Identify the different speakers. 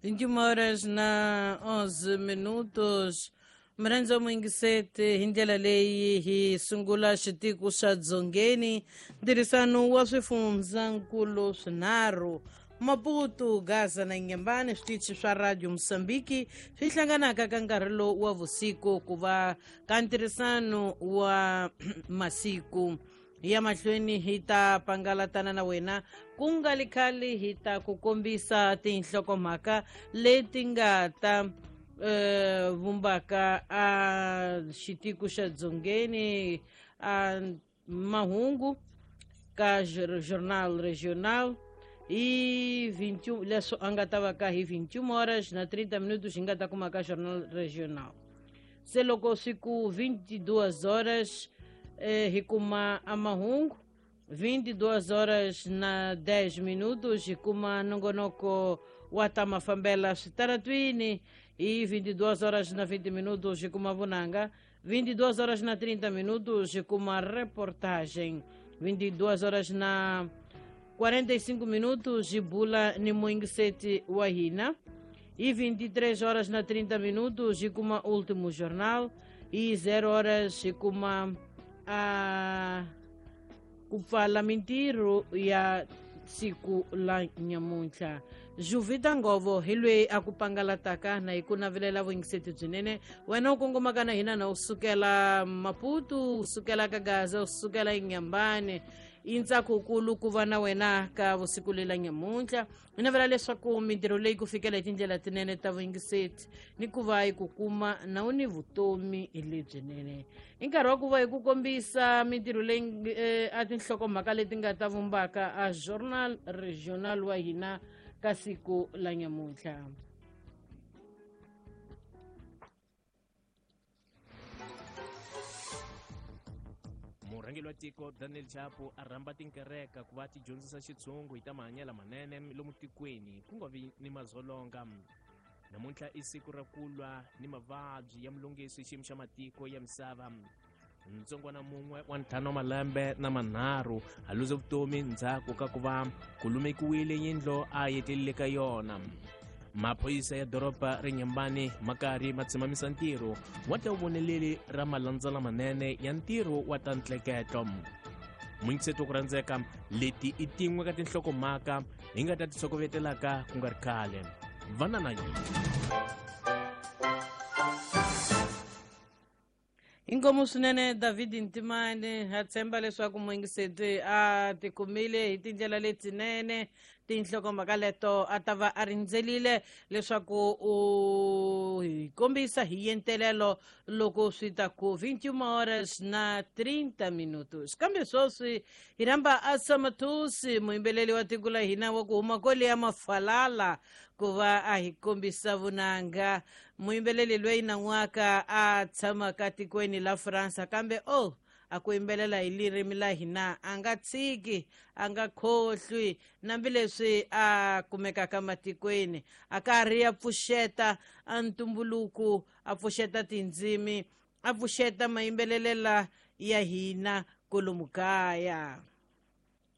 Speaker 1: 21 horas na 11 minutos. Mrhandza muyingiseti hi ndlela leyi hi sungula xitiko xa Dzongeni, ntirhisano wa swifundzankulu swinharhu Maputo, Gaza na Inhambane, switichi swa Radio Mozambique swi hlanganaka ka nkarhi lowu wa vusiku ku va ka ntirhisano wa masiku ya mahlweni. Hi ta pangalatana na wena ku nga li khale, hi ta ku kombisa tinhlokomhaka leti nga ta vumbaka a xitiko xa Dzongeni, a mahungu ka Jornal Regional hi 21, leswo a nga ta va ka hi 21 horas na 30 minutos hi nga ta kuma ka Jornal Regional. Se loko swi ku 22 horas hi kuma a mahungu, 22 horas na 10 minutos hi kuma nongonoko wa ta mafambela switaratwini. Hi 22 horas na 20 minutos hi kuma vunanga, 22 horas na 30 minutos hi kuma reportagem, 22 horas na 45 minutos hi bula ni muyingiseti wa hina. Hi 23 horas na 30 minutos hi kuma último jornal, hi 0 horas hi kuma a ku pfala mintirho ya siku la nyamuntlha. Juvita Ngovo hi loyi a ku pangalataka na hi ku navelela vuyingiseti byinene wena u kongomaka na hina, na u sukela Maputo, u sukela ka Gaza, u sukela Inhambane. I ntsakukulu ku va na wena ka vusiku lela nyamuntlha. Hi navela leswaku mintirho leyi ku fikela hi tindlela tinene ta vuyingiseti ni ku va hi ku kuma na u ni vutomi lebyinene. I nkarhi wa ku va hi ku kombisa mintirho leyi a tinhlokomhaka leti nga ta vumbaka a Journal Regional wa hina ka siku la nyamuntlha.
Speaker 2: Murhangeri wa tiko Daniel Chapo a rhamba tinkereka ku va ti dyondzisa xitshungu hi ta mahanyelo manene lomu tikweni, ku nga vi ni mazolonga. Namuntlha i siku ra ku lwa ni mavabyi ya mulungisi xiyimo xa matiko ya misava. Ntsongwana mun'we wa 5 wa malembe na manharhu a luze vutomi ndzhaku ka ku va ku lumekiwile yindlo a yetlelile ka yona. Maphorisa ya doroba ra Inhambane ma karhi ma tshimamisa ntirho wa ta voneleli ra malandzela manene ya ntirho wa ta ntleketlo. Muyingiseti wa ku rhandzeka, leti i tin'we ka tinhlokomhaka hi nga ta ti tshokovetelaka ku nga ri khale. Vana na yona.
Speaker 1: Inkomu swinene David Ntimane. Ha tshemba leswaku muyingiseti a tikumile hi tindlela letinene tinhlokomhaka leto a ta va a rindzelile leswaku u hi kombisa hi yentelelo loko swi ta ku 21 horas na 30 minutos. Kambe sweswi hi rhamba Asamatusi, muyimbeleli wa tiko la hina wa ku huma kwale ya Mafalala, ku va a hi kombisa vunanga. Muyimbeleli loyi nan'waka a tshamaka tikweni la Fransa, kambe o a ku yimbelela hi ririmi la hina a nga tshiki, a nga khohlwi, nambileswi a kumekaka matikweni a karhi a pfuxeta a ntumbuluko, a pfuxeta tindzimi, a pfuxeta mayimbelelela ya hina kolomu kaya.